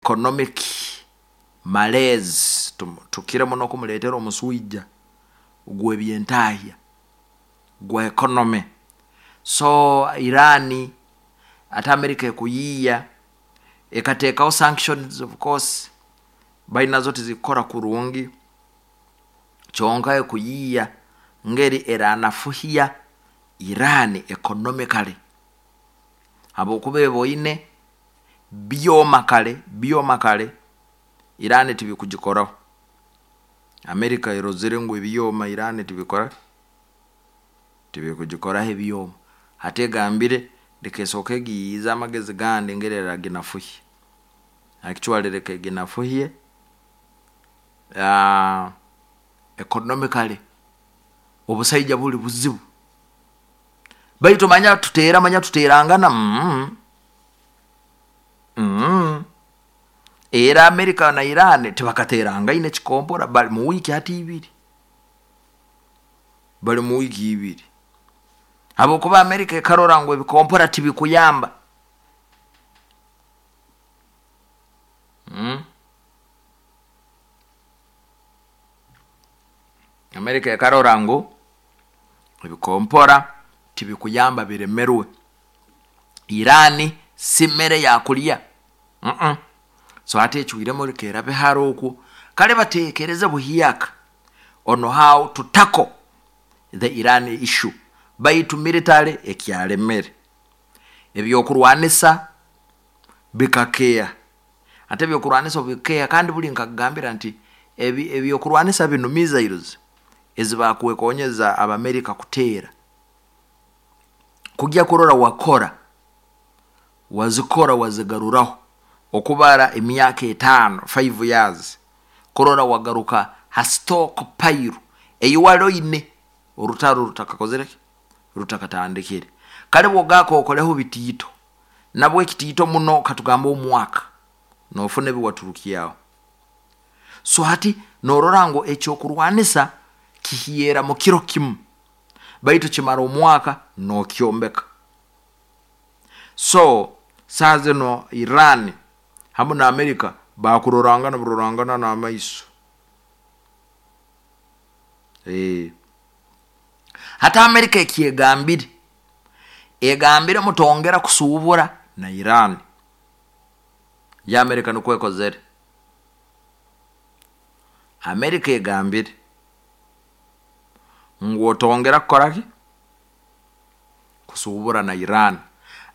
Economic malaise tukire muno kumuleetera omuswija gw'ebyentahya gwa economy. So Iran ate America ekuyiiya ekateekaho sanctions of course baitu nazo tizikukora kurungi, kyonka ekuyiiya ngeri eranafuhya Iran economically habwokuba eboine byoma kare byoma kare Iran tibikugikoraho. America erozire ngu ebyoma Iran tibikora tibikugikoraho ebyoma. Hati egambire leka esooke egiyiize amagezi gandi engeri eraginafuhya. Actually leka eginafuhye economically obusaija buri buzibu. Baitu manya tuteera manya tuteerangana mm mm era America na Iran tibakateerangaine ekikompora bari mu wiiki hati ibiri. Bari mu wiiki ibiri. Habwokuba America ekarora ngu ebikompora tibikuyamba. Mm. America ekarora ngu ebikompora tibikuyamba biremerwe. Iran si mere ya kulya. Mm So hati ecwiremu leka erabe hara okwo. Kare bateekereze buhyaka on how to tackle the Iran issue. Baitu military ekyaremere. Ebyokurwanisa bikakeeha. Ate ebyokurwanisa obu bikukeeha kandi buri nkakugambira nti ebi ebyokurwanisa binu missiles ezi bakwekonyeza Abamerika kuteera, kugya kurora wakora, wazikora wazigaruraho okubara emyaka etaano, 5 years, kurora wagaruka ha stock pile ei wari oine orutaro rutakakozire ki? Rutakatandikire. Kare bw'ogaaka okoreho bitiito, nabwo ekitiito muno katugambe omwaka, noofuna ebi waturukyaho. So hati noorora ngu ekyokurwanisa kihyera mu kiro kimu, baitu kimara omwaka nookyombeka. So saaha zinu Iran hamu na America baakurorangana burorangana n'amaiso. Eeh. Hati America eki egambire, egambire mutongera kusuubura na Iran. Yo America nikwo ekozere. America egambire ngu otongera kukora ki? Kusuubura na Iran.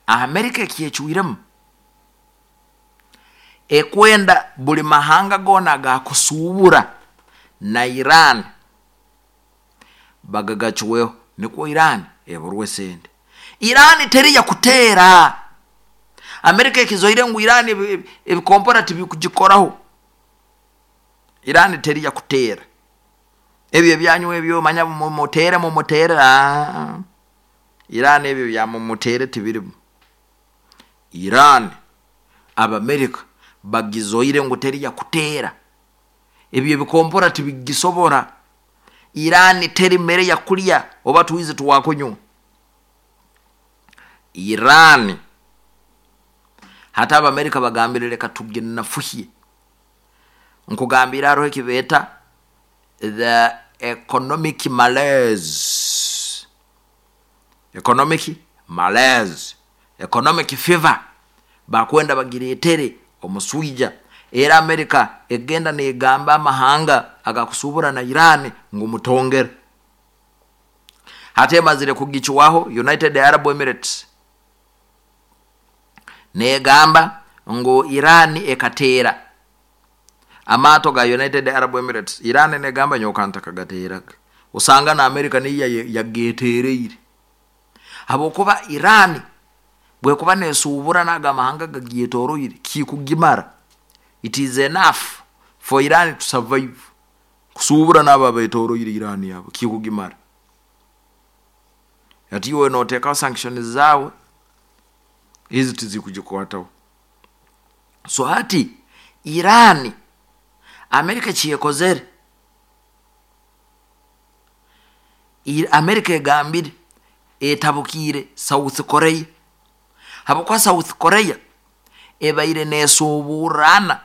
America eki ecwiremu, ekwenda buri mahanga goona agakusuubura na Iran bagagacweho nikwo Iran eburwe esente. Iran teriya kuteera. America ekizoire ngu Iran ebikompora tibikugikoraho. Iran teriya kuteera. Ebyo ebyanyu ebyo manya mumuteere mumuteere aah Iran ebyo bya mumuteere tibirimu. Iran Abamerika bagizoire ngu teriya kuteera. Ebyo ebikompora tibigisobora. Iran teri mere ya kulya oba twizi twakunywa. Iran hati Abamerika bagambire leka tuginafuhye. Nkugambiire haroho eki beeta the economic malaise, economic malaise, economic fever bakwenda bagireetere omuswija. Era America egenda negamba amahanga agakusuubura na Iran ngu mutongere. Hati emazire kugicwaho United Arab Emirates negamba ngu Iran ekateera amaato ga United Arab Emirates. Iran negamba nyowe kantakagateeraga. Osanga na America niyo yageteereire. Habwokuba Iran bwekuba nesuubura n'ago amahanga agagyetoroire kikugimara. It is enough for Iran to survive. Kusuubura n'abo abetoroire Iran abo kikugimara. Hati iwe noteekaho sanctions zaawe, ezi tizikugikwataho. So hati Iran, America eki ekozere, America egambire etabukiire South Korea habwokuba South Korea ebaire neeshuuburana.